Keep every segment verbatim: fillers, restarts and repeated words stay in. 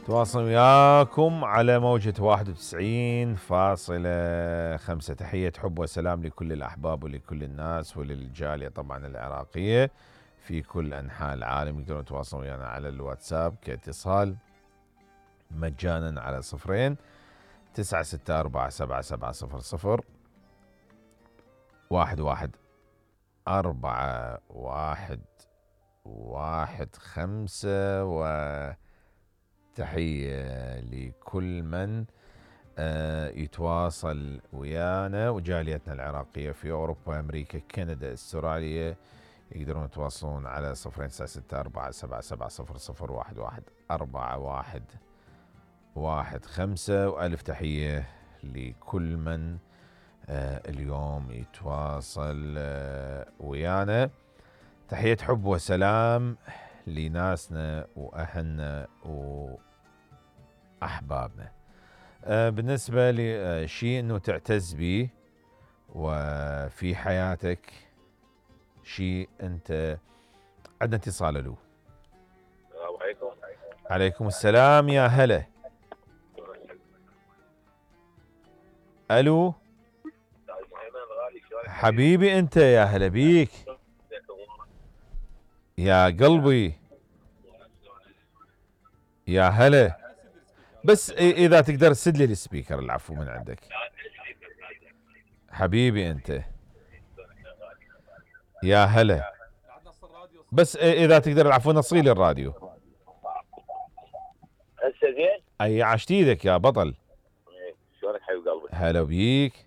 تواصل وياكم على موجة واحد وتسعين فاصلة خمسة. تحية حب وسلام لكل الأحباب ولكل الناس وللجالية طبعا العراقية في كل أنحاء العالم. يقدرون يتواصلون ويانا على الواتساب كاتصال مجانا على صفرين تسعة ستة أربعة سبعة سبعة صفر صفر واحد واحد أربعة واحد واحد خمسة. وتحية لكل من يتواصل ويانا وجاليتنا العراقية في أوروبا أمريكا كندا استراليا. يقدرون يتواصلون على صفرين تسعة ستة أربعة سبعة سبعة صفر صفر واحد واحد أربعة واحد واحد خمسة. وألف تحية لكل من اليوم يتواصل ويانا. تحية حب وسلام لناسنا وأهلنا وأحبابنا. بالنسبة لشيء أنه تعتز به وفي حياتك، شيء أنت عندنا اتصال له. السلام عليكم. عليكم السلام يا هلا. ألو حبيبي أنت، يا هلا بيك يا قلبي يا هلا. بس إذا تقدر تسد لي السبيكر العفو من عندك حبيبي أنت يا هلا. بس إذا تقدر العفو نصيلي الراديو. هسه زين؟ أي عشت ايدك يا بطل. شلونك حبيب قلبي؟ هلا بيك.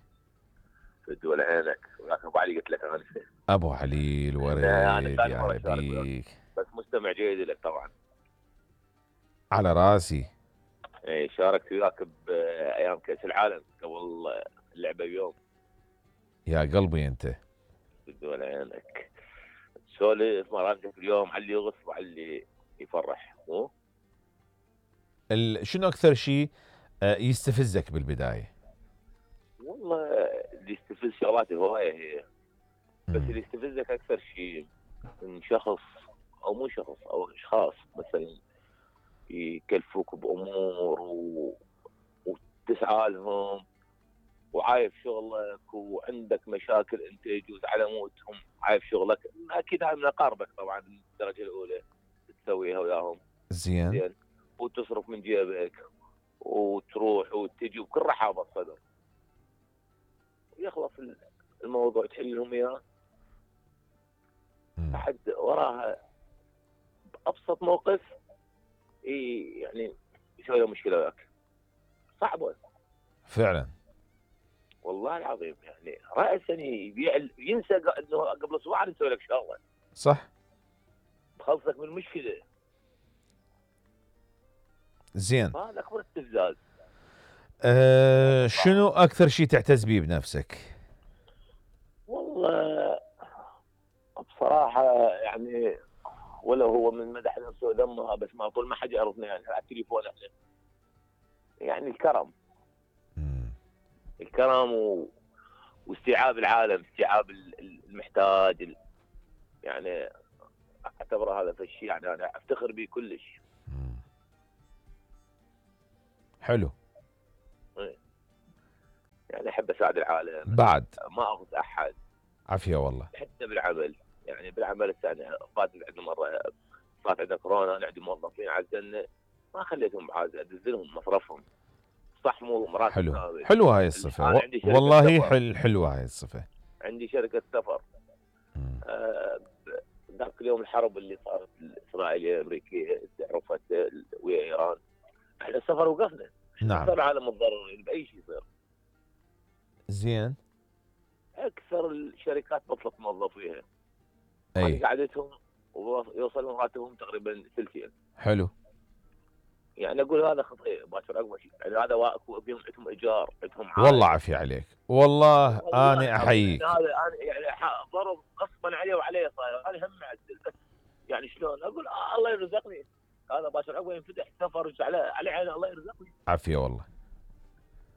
فد ولا عينك. ولكن ابو علي قلت لك انا ابو علي الوريد يا هلا بيك. بس مستمع جيد لك طبعا. على راسي. اي شاركت وياك بايام كاس العالم قبل اللعبه بيوم. يا قلبي انت. فد ولا عينك. سولف مراتك اليوم على اللي يغص وعلى اللي يفرح. مو ال... شنو اكثر شيء يستفزك بالبدايه؟ والله اللي يستفز شغلات الهوايه هي، بس اللي يستفزك اكثر شيء من شخص او مو شخص او اشخاص مثلا يكلفوك بامور و... وتسعى لهم وعايف شغلك وعندك مشاكل انت يجوز على موتهم عايف شغلك. اكيد هاي من اقاربك طبعا الدرجه الاولى تسويها وياهم زين زين وتصرف من جيبك وتروح وتجي بكل رحابه صدر يخلص الموضوع تحل لهم اياه احد وراها بابسط موقف يعني يسوي له مشكله وياك صعبه فعلا والله العظيم. يعني راسا يبيع ينسى انه قبل اسبوع نسوي لك شغله صح بخلصك من المشكله. زين هذا اكبر استفزاز. أه شنو اكثر شيء تعتز به بنفسك؟ والله بصراحه يعني ولا هو من مدح نفسه ذمها، بس ما طول ما حد يعرفني يعني على التليفون احنا يعني الكرم مم. الكرم و... واستيعاب العالم، استيعاب المحتاج ال... يعني اعتبره هذا الشيء يعني انا افتخر به كلش. مم. حلو. يعني احب اساعد العالم بعد ما اخذ احد. عافيه والله. حتى بالعمل يعني بالعمل الثاني فات عندنا مره فات عندنا كورونا نعدي موظفين عزلنا ما خليتهم بعاد ادز لهم مصرفهم صح مو مراتب. حلو حلو هاي الصفه و... والله حل حلوه هاي الصفه. عندي شركه سفر آه ذاك اليوم الحرب اللي صارت الاسرائيليه الامريكيه عرفت ويا ايران احنا السفر وقفنا. نعم صار العالم متضررين باي شيء يصير. زين اكثر الشركات بطلت موظفيها. اي قعدتهم ويوصل راتبهم تقريبا ثلثين. حلو. يعني اقول هذا خطير باكر اقوى شيء يعني هذا واقف فيهم عندهم ايجار عندهم والله عافيه عليك والله, والله انا احييك. هذا انا يعني ضرب غصبا عليه وعليه صاير انا هم معدل بس يعني شلون اقول آه الله يرزقني هذا باكر عقب ينفتح سفر على على عينه الله يرزقني عافيه والله.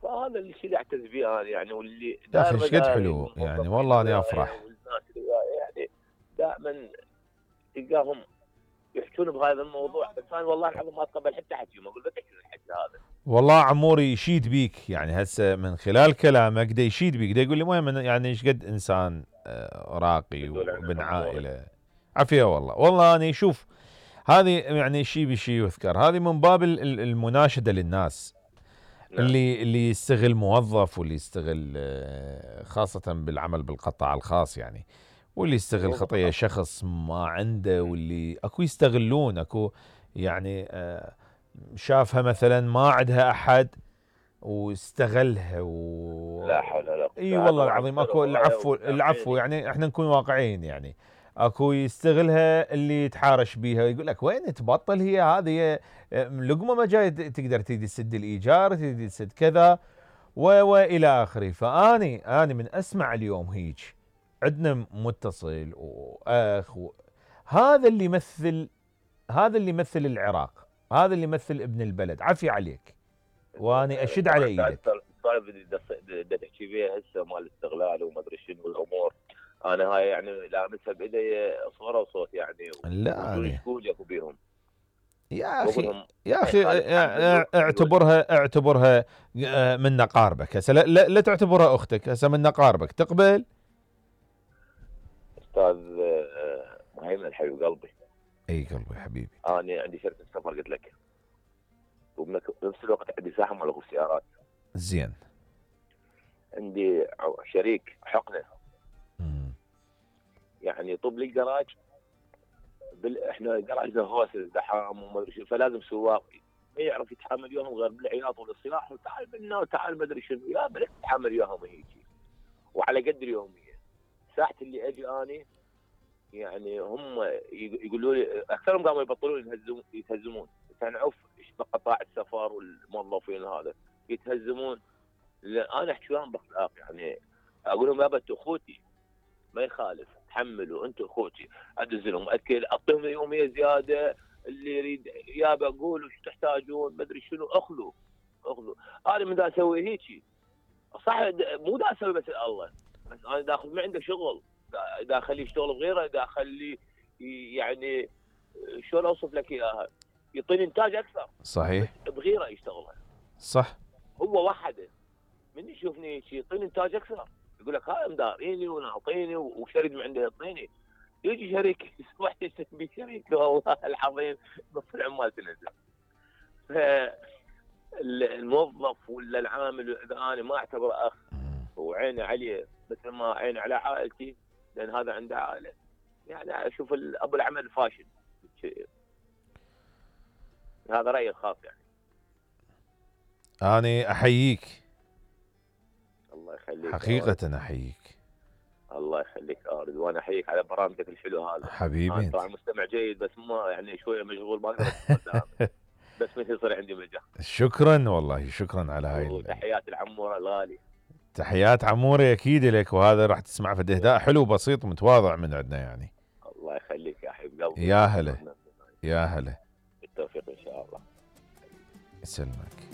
فهذا الشيء اللي اعتز به انا يعني واللي يا اخي ايش قد حلو يعني والله اني افرح والناس اللي يعني دائما تلقاهم يحكون بهذا الموضوع، بس انا والله العظيم ما اتقبل حتى حكيهم، اقول بس الحكي هذا. والله عموري يشيد بيك، يعني هسه من خلال كلامك دا يشيد بيك، دا يقول لي مهم يعني ايش قد انسان راقي وابن عائله. عافيه والله. والله انا شوف هذه يعني شيء بشيء يذكر، هذه من باب المناشده للناس. نعم. اللي اللي يستغل موظف، واللي يستغل خاصه بالعمل بالقطاع الخاص يعني، واللي يستغل خطيه شخص ما عنده، واللي اكو يستغلون، اكو يعني شافها مثلا ما عندها احد واستغلها و... لا حول ولا قوه. اي والله العظيم اكو العفو العفو يعني احنا نكون واقعيين يعني. اكو يستغلها اللي يتحارش بيها، يقول لك وين تبطل، هي هذه لقمه ما جاي تقدر تيجي تسد الايجار، تيجي تسد كذا والى اخره. فاني اني من اسمع اليوم هيك عندنا متصل واخ و... هذا اللي يمثل، هذا اللي يمثل العراق، هذا اللي يمثل ابن البلد. عافية عليك واني اشد على ايدك. السالفه اللي تحكي بيها هسه مال الاستغلال وما ادري شنو الامور، انا هاي يعني لامسها بايدي صوره وصوت يعني. لا شكون ياكو بيهم يا اخي، يا اخي اعتبرها اعتبرها من نقاربك هسه، لا, لا, لا تعتبرها اختك هسه، من نقاربك تقبل. استاذ مهيمن الحبيب قلبي. اي قلبي حبيبي. انا عندي شركه سفر قلت لك، وبنفس الوقت عندي ساحه مال سيارات. زين. عندي شريك حقنه. امم يعني طب لي جراج بال... احنا جراجنا هوسل زحام وما ادري شو، فلازم سواق ما يعرف يتحمل يوم غير بالعياط والاصلاح، وتعال منا وتعال ما ادري شنو، يا بلك تتحمل يوم هيك وعلى قد اليوميه. ساعه اللي اجي اني يعني هم يقولوا لي، اكثرهم قاموا يبطلون يتهزمون يتهزمون تنعف بقطاع السفر والموظفين هذا يتهزمون. انا احكي وياهم باخلاق يعني، اقول لهم يابا انتم اخوتي ما يخالف تحملوا، انتم اخوتي، ادز لهم اكل، اعطيهم يوميه زياده، اللي يريد يابا قولوا ايش تحتاجون ما ادري شنو، اخذوا اخذوا. انا من دا اسوي هيك صح، مو دا اسوي بس الله، بس انا دا اخذ ما عنده شغل، دا اخليه يشتغل بغيره، دا اخليه يعني شلون اوصف لك اياها، يعطيني انتاج اكثر. صحيح. بغيره يشتغلها. صح. هو وحده من يشوفني هيك يعطيني انتاج اكثر، يقول لك هاي مداريني ونعطيني وشريك من عنده يعطيني، يجي شريك واحد يسمي شريك والله العظيم نص العمال تنزل. فالموظف ولا العامل اذا انا ما اعتبره اخ وعيني عليه مثل ما عيني على عائلتي، لان هذا عنده عائله، يعني اشوف ابو العمل فاشل. هذا رايي الخاص يعني. أنا أحييك. الله يخليك. حقيقة أحييك. الله يخليك أرد، وأنا أحييك على برامجك الحلو هذا. حبيبي. أنا طبعا مستمع جيد بس ما يعني شوية مشغول ما أقدر بس مثل يصير عندي مجال. شكرا والله، شكرا على هاي. وتحيات العمورة الغالي. تحيات عموري أكيد لك، وهذا راح تسمع في إهداء حلو بسيط متواضع من عندنا يعني. الله يخليك يا حبيب قلبي. يا هلا يا هلا. بالتوفيق إن شاء الله. يسلمك.